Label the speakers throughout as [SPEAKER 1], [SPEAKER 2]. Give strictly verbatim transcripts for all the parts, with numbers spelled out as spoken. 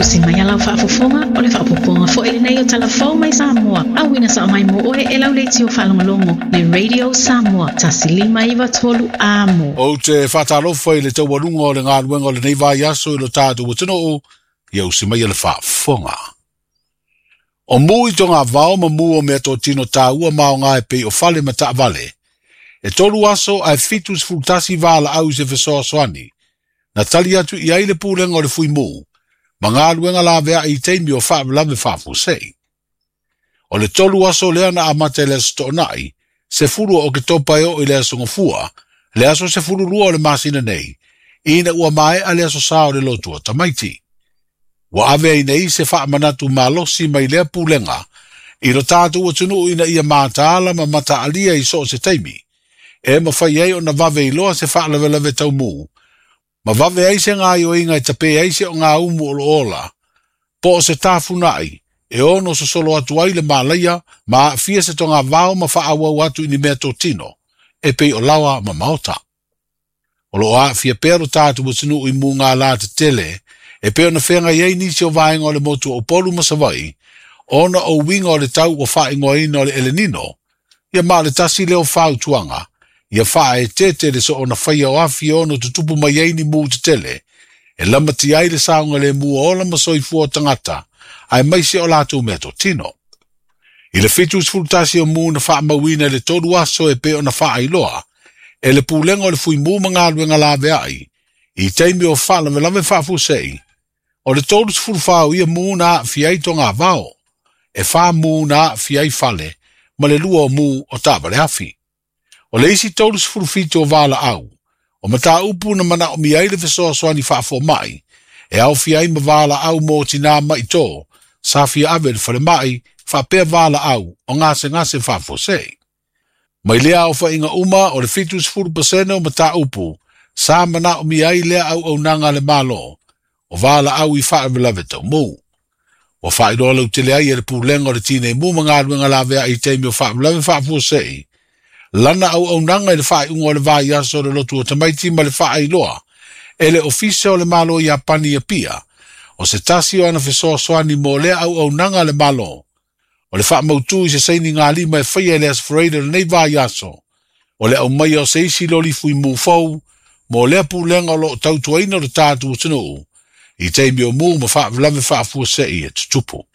[SPEAKER 1] Tusi mai a lau faafofoga o le faaopoopoga foi lenei o Talafou mai Samoa. Auina sao mai mo oe e lau leitio faalogologo le Radio Samoa tasi lima iva tolu amo.
[SPEAKER 2] Ou te faatalofa i le taualuga o le galuega o lenei vaiaso i lo tatou atunuu, ia usi mai le faafofoga. O mu i tonga vao ma mu o mea totino tāua maonga e pei o fale ma taavale. E tolu aso ae fitu sefulutasi valaau i se fesoasoani. Na tali atu i ai le pulega o le fuimu, ma galuega laveai i taimi o faalavelave faafuasei. O le tolu aso lea na amata i le aso Toonai, sefulu o Oketopa e oo i le aso Gafua, le aso sefulu lua o le masina nei, ina ua maea le aso sa o le lotu o tamaiti. Ua ave ai nei se faamanatu malosi mai lea pulega, i lo tatou atunuu ina ia mataala ma mataalia i so o se taimi. E mafai ai ona vave iloa se faalavelave taumu, ma vave ai se gaoioiga e tape ai se ogaumu o lo ola, po o se tafunai, e ono sosolo atu ai le malaia, ma aafia se togavao ma faaauau atu i ni mea totino, e pei o laoa ma maota. O loo aafia pea lo tatou atunuu i mugala tetele, e pei ona feagai ai nisi o vaega o le motu o Upolu ma Savaii, ona o uiga o le tau ua faaigoaina o le Elenino, ia ma o le tasi lea o fautuaga, ia faaeteete le soona faia o afi e ono tutupu mai ai ni mu tetele, e lamatia ai le saogalemu o ola ma soifua o tagata, aemaise o latou mea totino. I le fitu sefulutasi o mu na faamauina i le tolu aso e pei ona faailoa, e le pulega o le fuimu ma galuega laveai, i taimi o faalavelave faafuasei, o le tolu sefulu fa o ia mu na aafia ai togavao, e fa mu na aafia ai fale, ma le lua o mu o taavale afi. O le isi tolu sefulu fitu o valaau, o mataupu na manaomia ai le fesoasoani faafomai, e aofia ai ma valaau mo tinā maitō, sa fia ave i le falemai, faapea valaau o gasegase faafuasei. Mai lea aofaiga uma o le fitu sefulu pasene o mataupu, sa manaomia ai lea auaunaga a le Malo, o valaau i faalavelave taumu. Ua faailoa lautele ai e le pulega o le tineimu ma galuega laveai i taimi o faalavelave faafuasei, lana auaunaga i le faaiuga o le vaiaso o le lotu o tamaiti ma le faailoa, e le ofisa o le Malo Iapani i Apia, o se tasi o ana fesoasoani mo lea auaunaga a le Malo, o le faamautu i se saini galima e faia i le aso Faraile o lenei vaiaso, o le aumaia o se isi loli fuimu fou, mo lea pulega o loo tautuaina o le tatou atunuu, i taimi o mu ma faalavelave faafuasei e tutupu.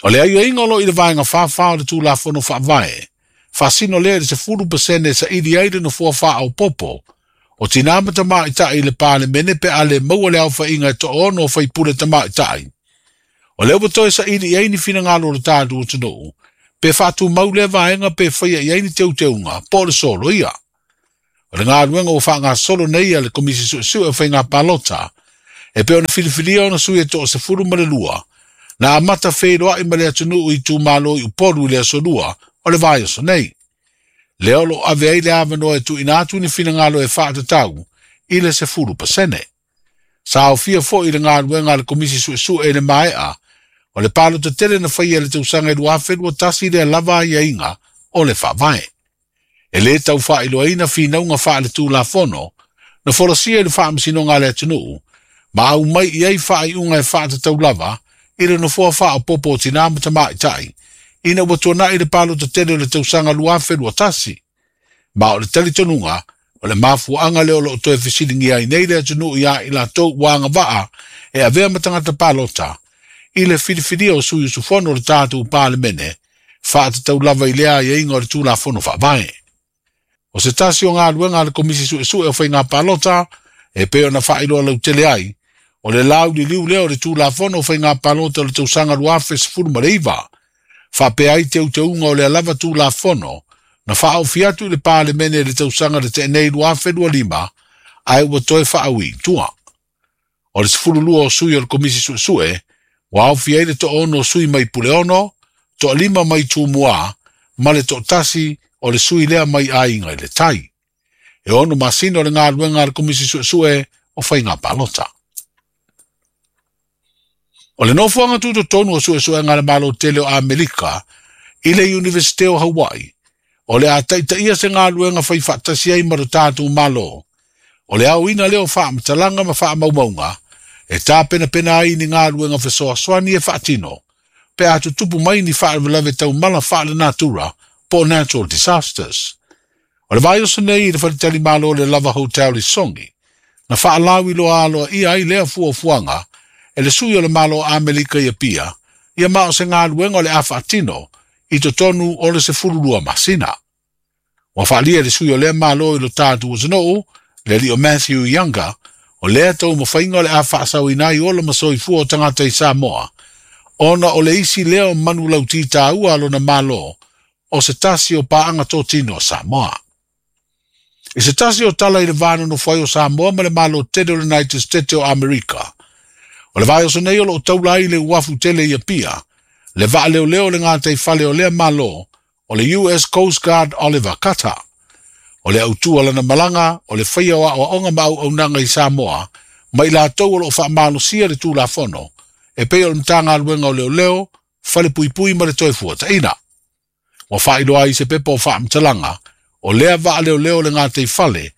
[SPEAKER 2] O le aiaiga o loo i le vaega fāfā o le Tulafono Faavae, faasino lea i le sefulu pasene e saili ai le nofoa faaopoopo, o tinā ma tamaitai i le Palemene pe a le maua le aofaiga e toaono o faipule tamaitai. O lea ua toe saili i ai ni finagalo o le tatou atunuu, pe faatumau lea vaega pe faia i ai ni teuteuga, po o le solo ia. O le galuega ua faagasolo nei a le Komisi Suesue o Faiga Palota, e pei ona filifilia ona sui e toasefulu ma le lua, na amata feiloai ma le atunuu i itumalo i Upolu i le aso lua o le vaiaso nei. Lea o loo ave ai le avanoa e tuuina atu ni finagalo e faatatau i le sefulu pasene. Sa aofia foi i le galuega a le Komisi Suesue i le maea, o le palota tele na faia i le tausaga i lua afe lua tasi lea lava aiaiga o le faavae. E lē tau faailoaina finauga faaletulafono, na folasia i le faamasinoga a le atunuu, ma aumai i ai faaiuga e faatatau lava i le nofoa faaopoopo o tinā ma tamaitai, ina ua tuanai le palota tele o le tausaga lua afe lua tasi. Ma o le talitonuga, o le mafuaaga lea o loo toe fesiligia ai nei le atunuu ia i latou ua agavaa e avea ma tagata palota, i le filifilia o sui usufono o le tatou Palemene, faatatau lava i lea aiaiga o le Tulafono Faavae. O se tasi o galuega a le Komisi Suesue o Faiga Palota, e pei ona faailoa lautele ai, o le lauliliu lea o le Tulafono o Faiga Palota o le tausaga lua afe sefulu ma le iva, faapea ai teuteuga o lea lava Tulafono, na faaofi atu i le Palemene i le tausaga na tea nei lua afe lua lima, ae ua toe faaui i tua. O le sefulu lua o sui o le Komisi Suesue, ua aofia ai le toaono o sui mai Puleono, toalima mai Tumua, ma le toatasi o le sui lea mai Aiga i le Tai. E ono masina o le galuega a le Komisi Suesue o Faiga Palota. O le nofoaga tutotonu o suesuega a le Malo tele o Amerika i le Iunivesite o Hawaii, o le a taitaia se galuega fai faatasi ai ma lo tatou Malo, o le aoina lea o faamatalaga ma faamaumauga E tāpenapena ai ni galuega fesoasoani e faatino, pe a tutupu mai ni faalavelave taumala faalenatura po o natural disasters. O le vaiaso nei i le faletalimalo o le Lava Hotel i Sogi, na faalauiloa aloaia ai lea fuafuaga e le sui o le Malo o Amerika i Apia, ia ma o se galuega o le a faatino i totonu o le sefululua masina. Ua faaalia e le sui o lea Malo i lo tatou atunuu, le alii o Matthew Younger, o lea taumafaiga o le a faasaoina ai ola ma soifua o tagata i Samoa, ona o le isi lea o manu lauti tāua a lona Malo, o se tasi o paaga totino o Samoa. I se tasi o tala i le va nonofo ai o Samoa ma le Malo tele o le United States o Amerika, o le vaiaso nei o loo taula ai i le uafu tele i Apia, le vaaleoleo o le gataifale o lea Malo, o le U S Coast Guard Oliver Cutter. O le autū o lana malaga, o le faia o aoaoga ma auaunaga i Samoa, ma i latou o loo faamalosia le Tulafono, e pei o le Matagaluega o Leoleo, Falepuipui ma le Toefuataiga. Ua faailoa ai se pepa o faamatalaga, o lea vaaleoleo o le gataifale,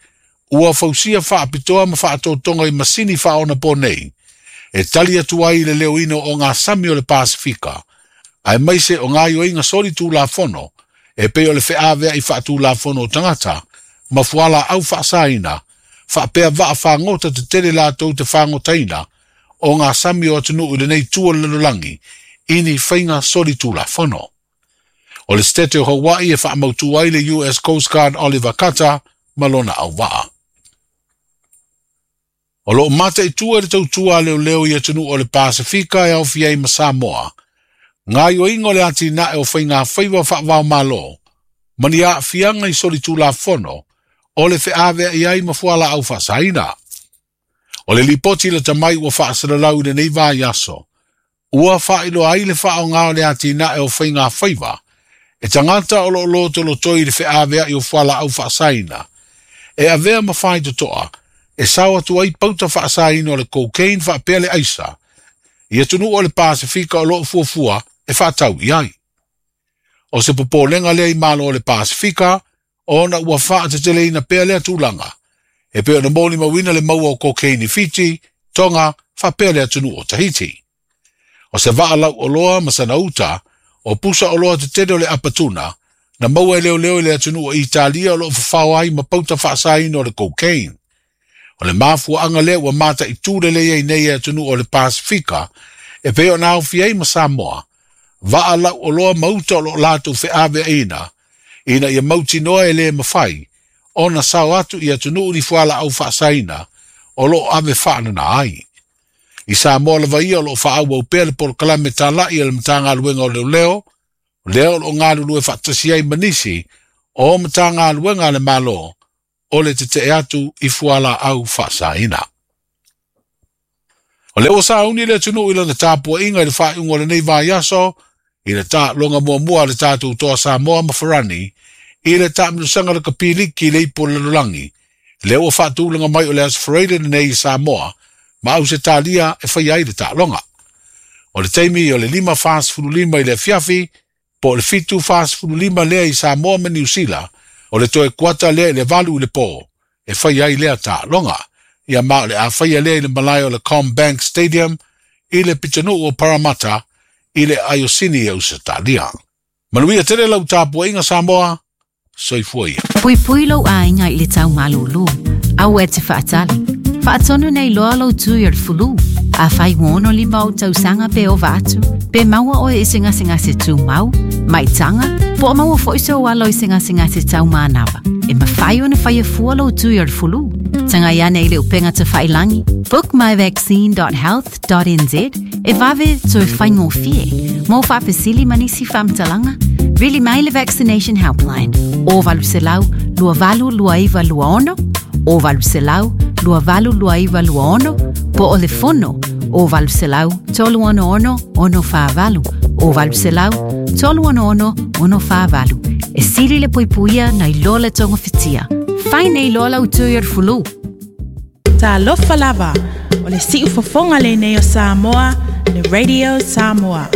[SPEAKER 2] ua fausia faapitoa ma faatotoga i masini faaonaponei, e tali atu ai i le leoina o gasami o le Pasifika, aemaise o gaoioiga soli Tulafono, e pei o le feaveai faatulafono o tagata, ma fualaau faasaina, faapea vaafagota tetele latou te fagotaina, o gasami o atunuu i lenei itu o le lalolagi, i ni faiga soli Tulafono. O le State o Hawaii e faamautu ai le U S Coast Guard Oliver Cutter ma lona auvaa. O loo mataitu e le tautua a leoleo i atunuu o le Pasifika e aofia ai ma Samoa, gaoioiga o le atinae o faigafaiva faavaomalo, ma ni aafiaga i soli Tulafono, o le feaveai ai ma fualaau faasaina. O le lipoti lata mai ua faasalalau i lenei vaiaso, ua faailoa ai le faaoga o le atinae o faigafaiva, e tagata o loo lotolotoi i le feaveai o fualaau faasaina, e avea ma faitotoa, e sao atu ai pauta faasaina o le cocaine faapea le aisa, i atunuu o le Pasifika o loo fuafua e faatau i ai. O se popolega lea i Malo o le Pasifika, ona ua faateteleina pea lea tulaga, e pei ona molimauina le maua o cocaine i Fiti, Tonga, faapea le atunuu o Tahiti. O se vaalau oloa ma sana uta, o pusa oloa tetele o le apatuna, na maua e leoleo i le atunuu o Italia o loo fafao ai ma pauta faasaina o le cocaine. O le mafuaaga lea ua mataitu lelei ai nei e atunuu o le Pasifika, e pei ona aofia ai ma Samoa, vaalau oloa ma uta o loo latou feaveaiina, ina ia mautinoa e lē mafai, ona sao atu i atunuu ni fualaau faasaina, o loo ave faanana ai. I Samoa lava ia o loo faaauau pea le polokalame talai a le Matagaluega o Leoleo, lea o loo galulue faatasi ai ma nisi o Matagaluega a le Malo, o le tetee atu i fualaau faasaina. O lea ua sauni le atunuu i lana tapuaiga i le faaiuga o lenei vaiaso, i le taaloga muamua a le tatou toa Samoa ma Farani, i le taamilosaga le kapiliki i le ipu o le lalolagi, lea ua faatulaga mai o le Aso Faraile lenei i Samoa, ma Ausetalia e faia ai le taaloga. O le taimi o le lima fasefululima i le afiafi, po o le fitu fasefululima lea i Samoa ma Niu Sila, o le toe kuata lea i le valu i le po, e faia ai lea taaloga. Ia ma o le a faia lea i le malae o le CommBank Stadium, i le pitonuu o Parramatta, i le Aiosini i Ausetalia. Manuia tele lau tapuaiga Samoa, soifua ia.
[SPEAKER 3] Puipui lou aiga i le taumalūlū, aua e te faatali. Faatonu nei loa lou tui o le fulu. Afai ua ono lima ou tausaga pe ova atu, pe maua oe i se gasegase tumau, maitaga, po o maua foi sou alo i se gasegase taumanava. E mafai ona faia fua lou tui o le fulu. Tagai ane i le upega tafailagi, book my vaccine dot health dot n z e vave toe faigofie. Mo faafesili ma nisi faamatalaga, vili mai le Vaccination Helpline o valu selau lua valu lua iva lua ono, o valu selau lua valu lua iva lua ono, po o le fono o valu selau tolu ono ono ono faavalu, o valu selau tolu ono ono ono faavalu. E sili le puipuia nai loa le togofitia. Fai nei loa lau tui o le fulu.
[SPEAKER 4] Talofa lava, o le siufofoga lenei o Samoa, le Radio Samoa.